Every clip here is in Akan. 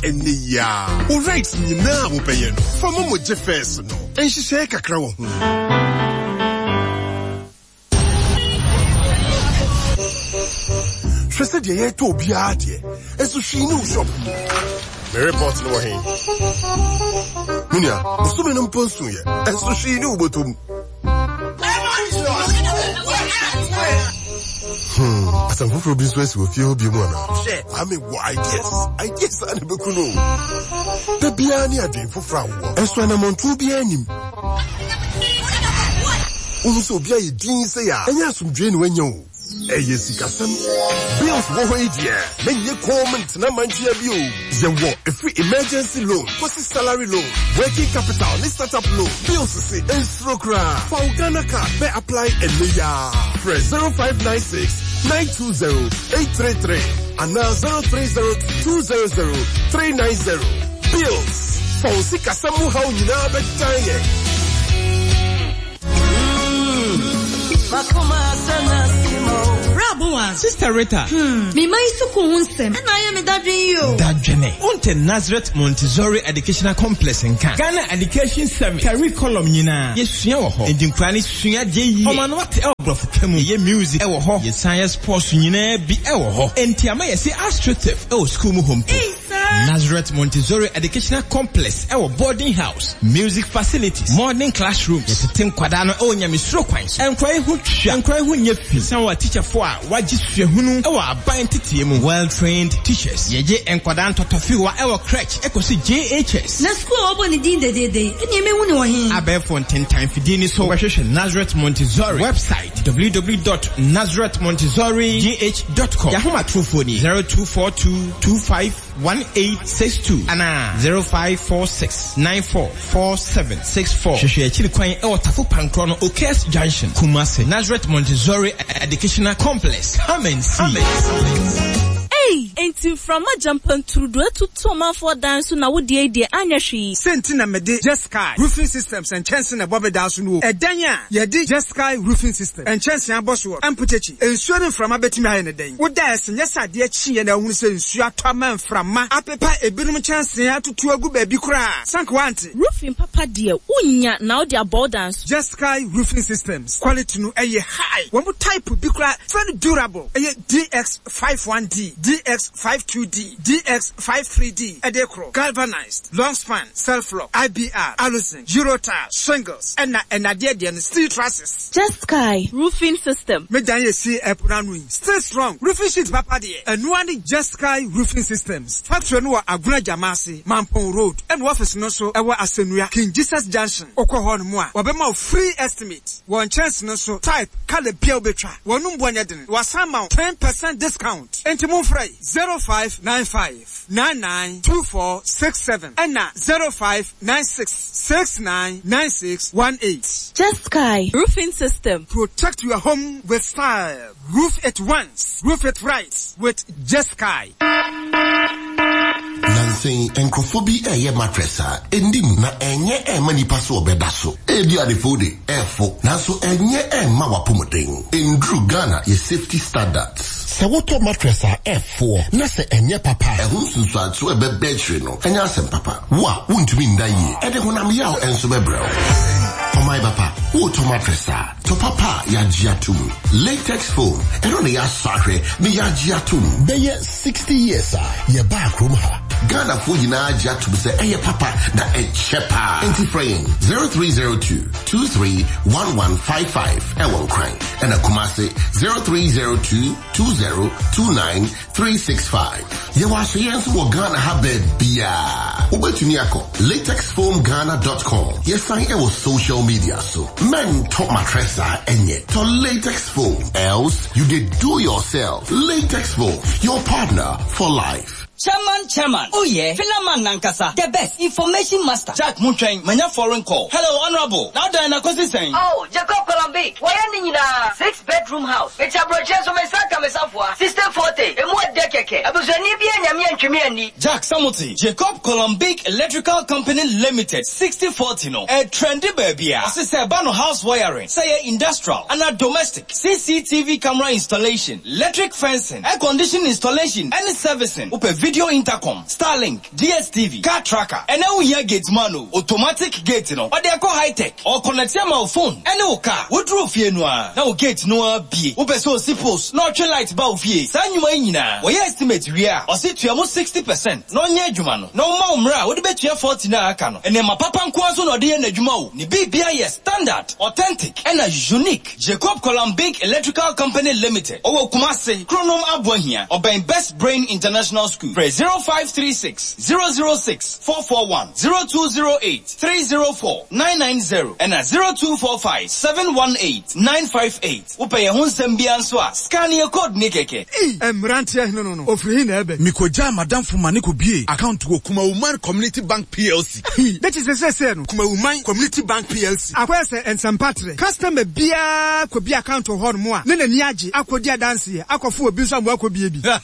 ɛnnɛ yi ara. Wo rides nyinaa a wobɛyɛ no, fa momo gye fares no. Nhyehyɛe kakra wɔ ho. Hwɛ sɛdeɛ yɛretɔ obiara deɛ, nso hwee nni wo shop mu. Me report no wɔ he? Me nua, bosome no mpo nsoeɛ, nso hwee nni wo bɔtɔ mu. Hmm, asɛm foforɔ bi nso asi wɔ fie hɔ bio mu anaa? Hwɛ, Kwame wɔ ideas. Ideas a na ɛbɛku no o. Da biara ne adwene foforɔ a wowɔ. Nso anammɔntuo biara nnim. Wohu sɛ obi ayɛ dinn sei a, ɛnyɛ asomdwoe na wanya o. Ɛyɛ sikasɛm. Bills wɔ hɔ yi deɛ, mɛnyɛ komm ntena mankyea bio. Yɛwɔ ɛfiri emergency loan kɔsi salary loan, working capital ne startup loan. Bills se nsuro koraa. Fa wo Ghana card bɛ apply ɛnnɛ yi ara. Frɛ 0596 920 833 anaa 0302 200 390. Bills, fa wo sikasɛm mu haw nyinaa bɛdan yɛn. Bra Sister Rita. Hmm, me man sukuu ho nsɛm ɛna ayɛ me dadwen yi o. Dadwene. Wonte Nazareth Montessori Educational Complex nka. Ghana Education Service curriculum nyinaa yɛsua wɔ hɔ. Enti nkwadaa no sua adeɛ yie. Ɔma no ate ɛwɔ borɔfo ka mu. Yɛyɛ music ɛwɔ hɔ. Yɛsan yɛ sports nyinaa bi ɛwɔ hɔ. Enti ama yɛse astroturf ɛwɔ sukuu mu hɔ mpo. Nazareth Montessori Educational Complex ɛwɔ boarding house, music facilities, modern classrooms. Yɛtete nkwadaa no ɛwɔ nyamesuro kwan so. Nkwadaa yi ho twa, nkwadaa yi ho nyɛ fi. San wɔ atikyafoɔ a wɔagye suahunu ɛwɔ aban nteteɛ mu, well trained teachers. Yɛgye nkwadaa ntɔtɔfewa ɛwɔ crèche ɛkɔsi JHS. Na sukuu a wɔbɔ ne din dedeede yi, ɛnneɛ mɛhu no wɔ he? Abɛɛfo ntentan fidie ni so wobɛhwehwɛ Nazareth Montessori website www.nazarethmontessorigh.com. Yɛn ahomatorofoɔ ni, 0242 251862 anaa 0546 944764. Hwehwɛ akyiri kwan wɔ Tafo Pankorɔ no Okes Junction, Kumasi, Nazareth Montessori Educational Complex. Come and see. Ei! Enti mframa gyampantrudu atutu ɔmanfoɔ dan so na wo deɛ yi deɛ anyɛ hwee yi? Sei nti na mede Jeskai Roofing Systems nkyɛnse na ɛbɔ me dan so no o. Ɛdan a yɛde Jeskai Roofing Systems nkyɛnse abɔ soɔ mpokyekye, nsuo ne mframa bɛtumi ayɛ no dɛn? Wo da ɛse nyɛ sɛ adeɛ kyeeɛ na wohunu sɛ nsuo atɔ ama mframa apepa ebinom nkyɛnse atutu agu baabi koraa. Sɛ anka woante. Roofing papa deɛ wonnya na wode abɔ wo dan so. Jeskai Roofing Systems quality no ɛyɛ high. Wɔn type bi koraa frɛ no durable, ɛyɛ DX. 51D, DX52D, DX53D, ɛde koro, galvanized, long span, self lock, IBR, aluzinc, Eurotile, shingles, ɛna ɛnadeɛ deɛ no steel trusses. Jeskai Roofing System. Me dan esi ɛpo no ano yi still strong roofing sheet papa deɛ ɛnoa ne Jeskai Roofing Systems factory no wɔ Agona Gyamase, Mampong Road ɛna office no nso ɛwɔ Asɛnua, King Jesus Junction wokɔ hɔ nom a wɔbɛma wo free estimate wɔ nkyɛnse no so type, colour bia wobɛtwa wɔnom boɔ nyɛ den. Wɔasan ma wo 10% discount. Enti momfrɛ 0595 99 2467 ɛna 0596 69 96 18. Jeskai Roofing System. Protect your home with style. Roof it once, roof it right with Jeskai. Nnansa yi, nkurɔfoɔ bi reyɛ mattress a ɛnni mu na ɛnyɛ ɛmma nipa sɛ ɔbɛda so. Ebi adefo de, ɛfo, nanso ɛnyɛ ɛmma w'apɔmuden. Ɛnduru Ghana yɛ safety standards. Sɛ wotɔ mattress a ɛfoɔ na sɛ ɛnyɛ papa a, ɛho nsunsuansoɔ a ɛbɛba akyire no nyɛ asɛm papa. Wo a wontumi nna yie, ɛde honam yaw nso bɛbrɛ wo. Ɔman ba pa, woretɔ mattress a, tɔ papa a yɛagye atom. Latex foam, ɛno na yɛasɔ ahwɛ na yɛagye atom. Bɛyɛ 60 years a yɛbaa kurom ha. Ghanafoɔ nyinaa agye atom sɛ ɛyɛ papa na ɛkyɛ paa. Enti frɛ yɛn 0302 231155 ɛwɔ Nkran ɛna Kumase 0302 2029365. Yɛwɔ asoyɛ nso wɔ Ghana ha baabiaa. Wobɛtumi akɔ latexfoamghana.com. Yɛsan ɛwɔ social media so. Mɛntɔ mattress a ɛnyɛ. Tɔ latex foam. Else you dey do yourself. Latex foam, your partner for life. Chairman chairman oh yeah Philaman nankasa the best information master. Jack montwɛn manya foreign call. Hello honourable na wodan na kosi sɛn? Oh Jacob Kola. Kolombi, wɔyɛ ne nyinaa 6 bedroom house. Mete aburokyire nso me nsa aka me safoa. 6040, emu ɔdɛ kɛkɛ. Abusuani biara nnya me antwi me anni. Jack Samuti, Jacob Kolombic Electrical Company Limited 6040 no ɛretrendi baabiara. Ɔse sɛ ɛba no house wiring, sɛ ɛyɛ industrial anaa domestic, CCTV camera installation, electric fencing, air condition installation ɛne servicing, wopɛ video intercom, Starlink, DSTV, car tracker, ɛnɛ wohia gate man o, automatic gate no ɔde ɛkɔ high tech, ɔconnecte ama wo phone ɛne wo car, woduru fie no ara na wo gate no ara bue, wopɛ sɛ osi post na ɔtwe light ba wo fie, saa nnwuma yi nyinaa wɔyɛ estimate wie a ɔse tua mu 60% na ɔnyɛ adwuma no na ɔmma wo mmerɛ a wode bɛtua 40 no a aka no, nneɛma papa nko ara nso na ɔde yɛ n'adwuma o, ne biribiara yɛ standard, authentic ɛna unique. Jacob Kolambig Electrical Company Limited, ɔwɔ Kumasi, Kronom Aboahia, ɔbɛn Best Brain International School. Frɛ 0536 006 441, 0208 304 990 ɛna 0245 718 958. Wopɛ yɛn ho nsɛm biara nso a, scan yɛn code ni kɛkɛ. Ei! Mmeranteɛ hene no no, ɔfiri he na ɛɛba yi? Mekɔgyaa m'adamfo ma ne kɔbuee account wɔ Kumawuman Community Bank PLC. Hi! Dɛ kyesɛ sɛsɛɛ no, Kumawuman Community Bank PLC akɔyɛ sɛ nsɛmpatrɛ. Customer biara kɔbue account wɔ hɔnom a, na n'ani agye akɔdi adanseɛ akɔfo obi nso ama wakɔbue bi.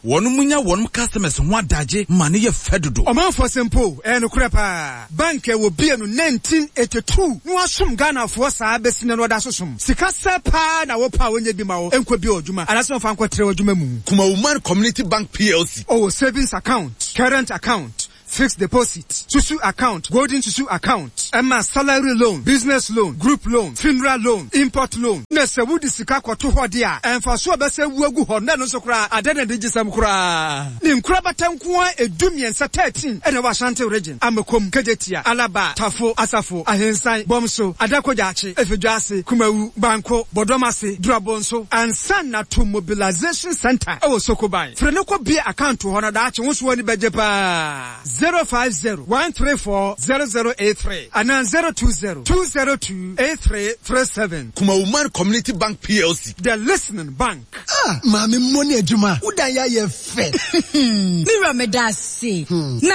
Wɔnom nya wɔnom customers ho adagye ma no yɛ fɛ dodo. Ɔmanfoɔ sɛ mpo o, ɛyɛ nokorɛ paa. Bank a wɔbue no 1982 na wɔasom Ghanafoɔ saa bɛsi nnɛ no wɔda so som. Sika sɛ paa na wopɛ a wɔnyɛ bi ma wo nkɔbue w'adwuma anaasɛ wɔmfa nkɔtrɛ w'adwuma mu. Kumawuman Community Bank PLC. Ɔwɔ savings account, current account, fixed deposit, susu account, golden susu account, ɛma salary loan, business loan, group loan, funeral loan, import loan. Na sɛ wode sika kɔto hɔ de a, mfaso a ɛbɛsɛ wu agu hɔ no, na ɛno nso koraa, adɛn na anigyesɛm koraa. Ne nkorabata nko ara dumiɛnsa, 13, na ɛwɔ Ashanti Region, Amakom, Kejetia, Alaba, Tafo, Asafo, Ahensan, Bɔmso, Adako Jachie, Efidwoase, Kumawu, Banko, Bɔdɔmase, Durabonso, ansa na to Mobilization Centre wɔ Sokoban. Frɛ no kɔ bue account wɔ hɔ na daakye wo nso w'ani bɛgye paa. 050 134 0083 anaa 020 202 8337. Kumawuman Community Bank PLC. The Listening Bank. Ah maame mmɔ ne adwuma wo dan yɛ ayɛ fɛ. Me wura meda ase. Na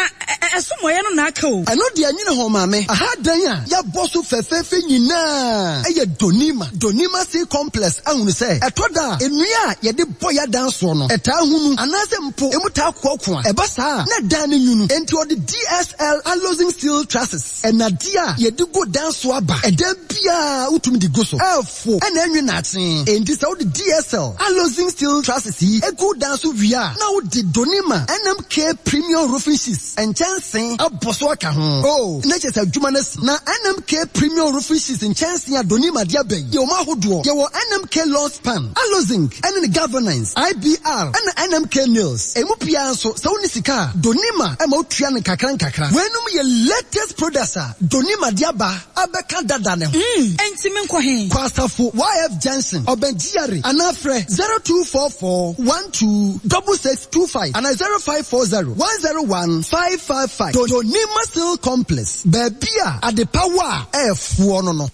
ɛso mɔeɛ no na aka o. Ɛno deɛ nwene ho maame. Aha dan a yɛabɔ so fɛfɛɛfɛ nyinaa yɛ Donima. Donima Sea Complex ahunu sɛ ɛtɔ da a nnua a yɛde bɔ yɛn adan soɔ no, ɛtaa hunu anaasɛ mpo emu taa koakoa. Ɛba saa a, na dan no nwunu. Enti wɔde DSL Alozing Steel Trusses, nnadeɛ a yɛde gu dan so aba. Ɛdan biara wotumi de gu so. Ɛfo na ɛnwe nnaakye. Enti sɛ wode DSL Alozing Steel Trusses yi gu wo dan so wie a, na wode Donima NMK Premium Roofing Sheets, Nkyɛnsee abɔ so aka ho. Oh, na kyerɛ sɛ adwuma no asi. Na NMK Premium Roofing Sheets nkyɛnsee a Donima de aba yi yɛ wɔn ahodoɔ. Yɛwɔ NMK Long Span, Alozinc ne ne Galvanized, IBR, ɛna NMK Nails. Emu biara nso, sɛ wonni sika a, Donima ma wotua no nkakra nkakra. Weinom yɛ latest products a Donima de aba abɛka dada no ho. Mm, enti menkɔ he? Kɔ Asafo YF Junction, ɔbɛn GRA, anaa frɛ 0244 12 6625 anaa 0540 101 555. Donima Steel Complex, baabi a adepa wɔ a ɛɛfoɔ no no.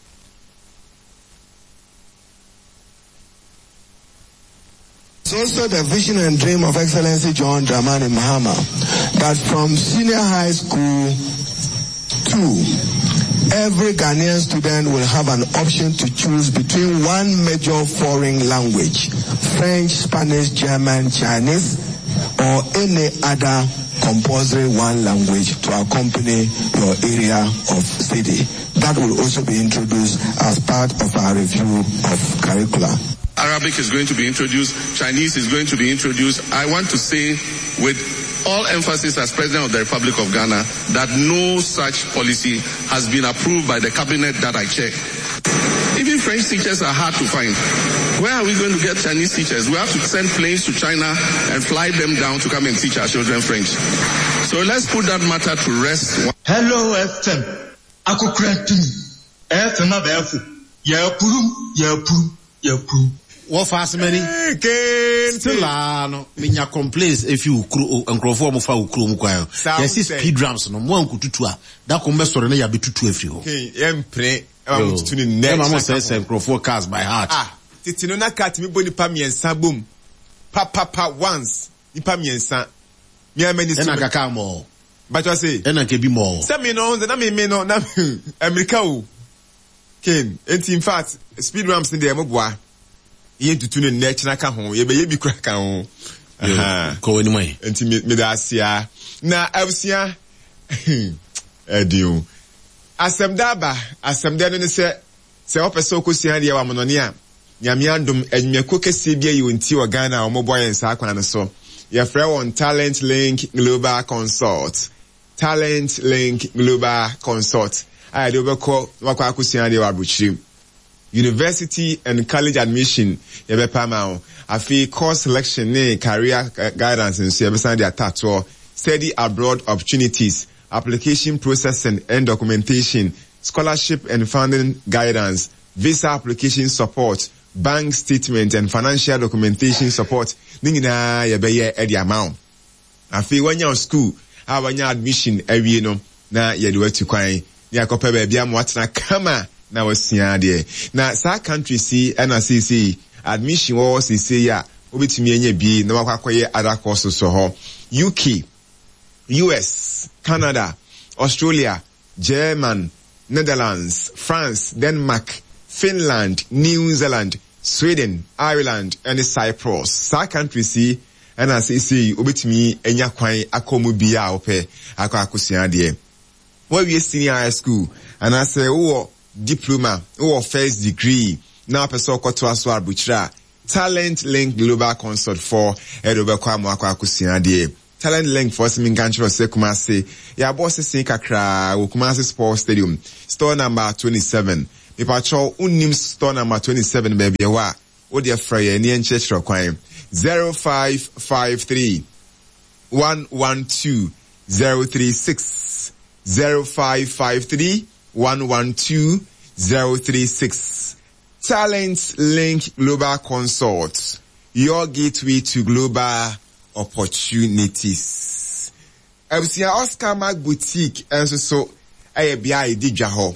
It's also the vision and dream of Excellency John Dramani Mahama that from senior high school to every Ghanaian student will have an option to choose between one major foreign language, French, Spanish, German, Chinese, or any other compulsory one language to accompany your area of study. That will also be introduced as part of our review of curricula. Arabic is going to be introduced, Chinese is going to be introduced. I want to say with all emphasis as President of the Republic of Ghana that no such policy has been approved by the cabinet that I chair. Even French teachers are hard to find. Where are we going to get Chinese teachers? We have to send planes to China and fly them down to come and teach our children French. So let's put that matter to rest. Hello FM, akokora tumi, FM abɛɛfo, yɛapurum, yɛapurum, yɛapurum. Wɔfa asemani. Still aa no, menya complaints efi wo kuro, nkurɔfoɔ a wɔfa wo kuro mu kwan. Yɛsi speed ramps no, mo ankotutu a, da ko mbɛsɔre na yɛabetutu afiri hɔ. Yɛmpene ɛma mo tutu no nnɛ. Ɛma mo sɛesɛe nkurɔfoɔ cars by heart. Ah, tete no na car tumi bɔ nipa mmiɛnsa bom papapa once, nipa mmiɛnsa. Me ara m'ani so. Ɛna nka car mɔɔ. Mpakyɛw se. Ɛna nka ebi mɔɔ. Sɛ me no, na me me no, na mmirika o. Ken, enti in fact speed ramps no deɛ mo boa. Yɛntutu no nnɛ kyena ka ho, yɛbɛyɛ bi kora ka ho. Kɔ w'anim ayi. Enti me meda ase a. Na abusua ɛden o. Asɛm da aba, asɛm dɛ no ne sɛ sɛ wopɛ sɛ wokɔsua adeɛ wɔ amonɔne a, Nyame adom adwumakuo kɛseɛ bi ayi wɔn ti wɔ Ghana a wɔbɔ yɛn saa kwan no so. Yɛfrɛ wɔn Talent Link Global Consult. Talent Link Global Consult a yɛde wo bɛkɔ na wakɔ akɔsua adeɛ wɔ abrokyire. University and College Admission yɛbɛpɛ ama wo. Afei course selection ne career guidance nso yɛbɛsan de atatoɔ. Study abroad opportunities, application processing and documentation, scholarship and funding guidance, visa application support, bank statement and financial documentation support ne nyinaa yɛbɛyɛ de ama wo. Afei wanya wo sukuu a wanya admission awie no na yɛde wo atu kwan ne akɔpɛ baabi ama watena kama na wasua adeɛ. Na saa countries yi na seesei admission wɔ hɔ seesei a wobɛtumi anya bi na wakɔ akɔyɛ other courses wɔ hɔ. UK, US, Canada, Australia, German, Netherlands, France, Denmark, Finland, New Zealand, Sweden, Ireland ne Cyprus. Saa countries yi na seesei wobɛtumi anya kwan akɔ mu bi a wopɛ akɔ akɔsua adeɛ. Woawie senior high school anaasɛ wowɔ diploma, wowɔ first degree na wopɛ sɛ wokɔtoa so abrokyire a, Talent Link Global Consult foɔ de wobɛkɔ ama woakɔ akɔsua adeɛ. Talent Link foɔ se menka nkyerɛ wo sɛ Kumasi yɛabɔ sese kakraa wɔ Kumasi Sports Stadium, store number 27. Mepakyɛw wonnim store number 27 baabi ɛwɔ a, wodeɛ frɛ yɛn ne yɛnkyerɛkyerɛ kwan. 0553 112 036 0553 112 036 Talent Link Global Consult, your gateway to global opportunities. Abusua Oscar Mark Boutique nso so yɛ bea a yɛdi dwa hɔ.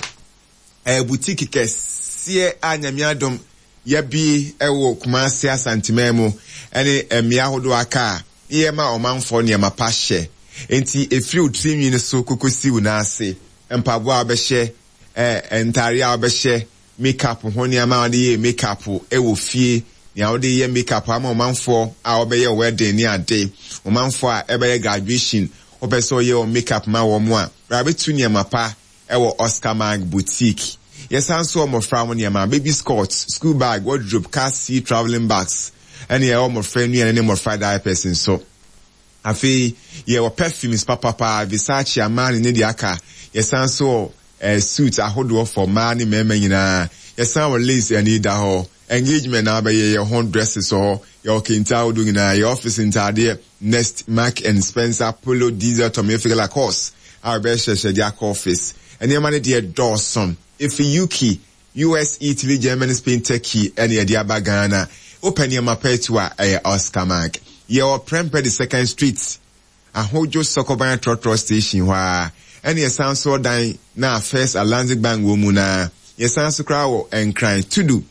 Ɛyɛ boutique kɛseɛ a Nyame adom yɛabue wɔ Kumasi Asanteman mu ne mmea ahodoɔ aka a ne yɛma ɔmanfoɔ nneɛma pa hyɛ. Enti ɛfiri wo tirinwi no so kɔkɔsi wo nan ase, mpaboa a wobɛhyɛ, ntaareɛ a wobɛhyɛ, makeup ho nneɛma a wode yɛ makeup wɔ fie, nea wode yɛ makeup ama ɔmanfoɔ a wɔbɛyɛ wedding ne ade, ɔmanfoɔ a ɛbɛyɛ graduation, wopɛ sɛ ɔyɛ wɔn makeup ma wɔn a, bra bɛtu nneɛma pa wɔ Oscar Mag Boutique. Yɛsan nso wɔ mmɔfra ho nneɛma, baby skirts, school bag, wardrobe, car seat, travelling bags, ɛne yɛwɔ mmɔfra nnuane ne mmɔfra diapers nso. Afei yɛwɔ perfumes papapa, Versace, Armani ne deɛ aka. Yɛsan nso wɔ eh, suits ahodoɔ for mmaa ne mmarima nyinaa. Yɛsan wɔ lace ani da hɔ. Engagement na wabɛyɛ yɛ ho dresses wɔ hɔ. Yɛwɔ kente ahodoɔ nyinaa. Yɛ office ntaadeɛ, Next, Mark and Spencer, Polo, Diesel, Tommy Hilfiger, Lacoste a wɔbɛhyehyɛ de akɔ office. Nneɛma no deɛ dɔɔso. Ɛfiri UK, US, Italy, Germany, Spain, Turkey ɛna yɛde aba Ghana. Wopɛ nneɛma pa atu a, ɛyɛ Oscar Mark. Yɛwɔ Prempeh the Second Street, Ahodwo Sɔkɔban Trɔtrɔ Station hɔ ara. Ɛna yɛsan nso wɔ dan no a First Atlantic Bank wɔ mu no ara. Yɛsan nso koraa wɔ Nkran, Tudu,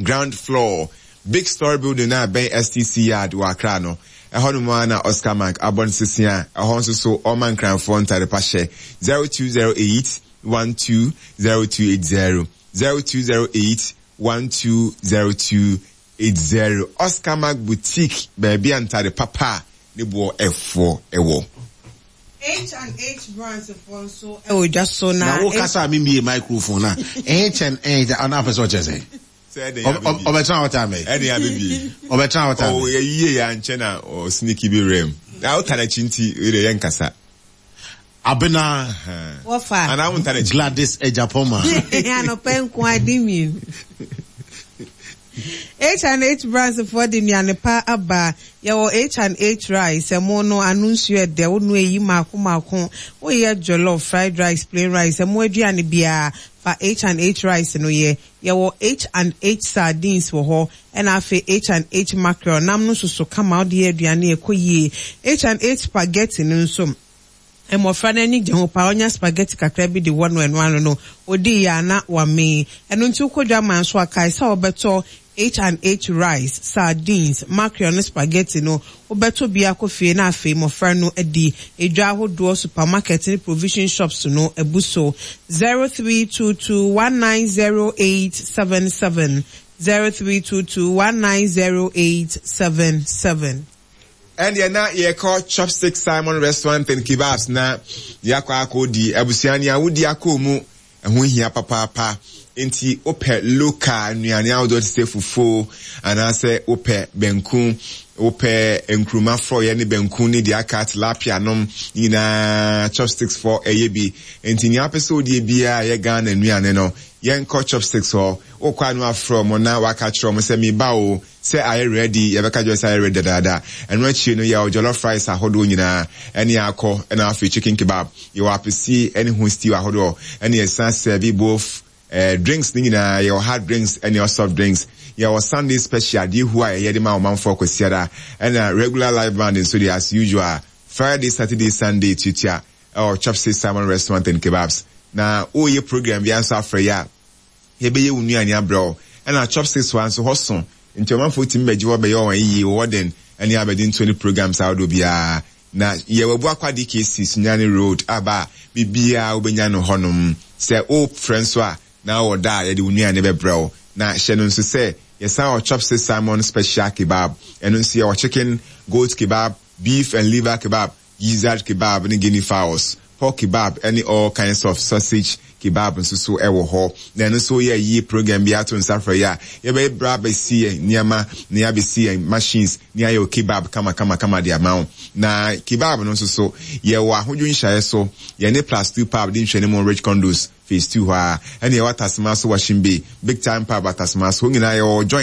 Ground Floor, Big Story Building no a ɛbɛn STC Yard wɔ Accra no. Ɛhɔnom ara na Oscar Mark abɔ ne sese a ɛhɔ nso so ɔma Nkranfoɔ ntade pa hyɛ. 0208 120280 0208 120280 Oscar Mark Boutique, baabi a ntade papa a ne boɔ ɛfoɔ wɔ. H and H Brands foɔ nso wɔ dwa so na. Na wo kasa a me mie microphone na H and H ɔno apɛ sɛ ɔkyerɛ sɛ. Ɔbɛtena hɔ time bɛyɛ. Ɛde abɛbie. Ɔbɛtena hɔ time. Ɔ yɛyie yɛ ankyɛ na ɔsniki bi rɛm. Na wota n'akyi nti wei deɛ yɛnkasa. Abena. Wɔfa. Anaa wo nta n'akyi. Gladys Agyapong. Anɔpa nko adi mmienu. H and H Brands foɔ de nnuane pa aba. Yɛwɔ H and H rice, ɛmo no ano nsuo ɛdɛ, wo noa eyi mako mako, wo yɛ jollof, fried rice, plain rice, ɛmo aduane biara fa H and H rice no yɛ. Yɛwɔ H and H sardines wɔ hɔ, ɛna afei H and H mackerel, nam no soso kama wode yɛ aduane a ɛkɔ yie. H and H spaghetti no nso, mmɔfra no ani gye ho paa, wonya spaghetti kakra bi de wɔ no ɛno ano no, ɔdi yɛ a na wamee. Ɛno nti wokɔ dwaman nso a, kae sɛ wobɛtɔ. H and H rice, sardines, mackerel ne spaghetti no, wobɛtɔ bi akɔ fie na afei mmɔfra no adi. Edwa ahodoɔ, supermarket ne provision shops no abu so. 0322 190877, 0322 190877. Ɛndeɛ na yɛkɔ Chopstick Simon Restaurant and Kebabs na yɛakɔ akɔdi. Abusua nea wodi akɔ mu Ɛho hia papaapa. Enti wopɛ local nnuane ahodoɔ te sɛ fufuo anaasɛ wopɛ banku, wopɛ nkruma frɔeɛ ne banku ne deɛ aka tilapia nom ne nyinaa chopsticks foɔ ɛyɛ bi. Enti nea wopɛ sɛ wodie biara a ɛyɛ Ghana nnuane no, yɛnkɔ chopsticks hɔ. Wokɔ a na wafrɛ wɔn na waka akyerɛ wɔn sɛ meba o, Sɛ ayɛ ready, yɛbɛka kyerɛ wo sɛ ayɛ ready dadaada. Ɛno akyiri no, yɛwɔ jollof rice ahodoɔ nyinaa, ɛne akɔ, ɛna afei chicken kebab. Yɛwɔ apesie ɛne ho stew ahodoɔ, ɛne yɛsan sɛɛve both eh, drinks no nyinaa. Yɛwɔ hard drinks ɛne soft drinks. Yɛwɔ Sunday special, adeɛ hu a yɛyɛ de ma ɔmanfoɔ Kwasiada, ɛna regular live band nso deɛ as usual, Friday, Saturday, Sunday tuatua ɛwɔ Chopsy Salmon Restaurant and Kebabs. Na woreyɛ program biara nso afrɛ yɛ a, yɛbɛyɛ wo nnuane abrɛ wo. Ɛna chopsticks hɔ ara nso, hɔ so nti ɔmanfoɔ tumi bɛgye hɔ bɛyɛ wɔn ayie, wɔ den ne abadintoɔ ne programs ahodoɔ biara. Na yɛwɔ Abuakwa DKC, Sunyani Road, aba a, biribiara wobɛnya no hɔnom. Sɛ worefrɛ nso a, na wɔ da a yɛde wo nnuane bɛbrɛ wo. Na hyɛ no nso sɛ, yɛsan wɔ Chopsticks Salmon Special Kebab. Ɛno nso yɛwɔ chicken, goat kebab, beef and liver kebab, Gizzard kebab ne guinea fowls, pork kebab ne all kinds of sausage kebab nso so wɔ hɔ. Na ɛno nso woyɛ ayie program bi ato nsa frɛ yɛ a, yɛbɛbrɛ abɛsi yɛn nneɛma na yɛabɛsi yɛn machines na yɛayɛ wo kebab kama kama kama de ama wo. Na kebab no nso so, yɛwɔ ahodwo nhyiaeɛ so, yɛne Plus Two Pub di nhwɛanimu Rich Condos Phase Two hɔ ara, ɛna yɛwɔ Atasema so Washing Bay, Big Time Pub Atasema so, hɔ nyinaa yɛwɔ joint.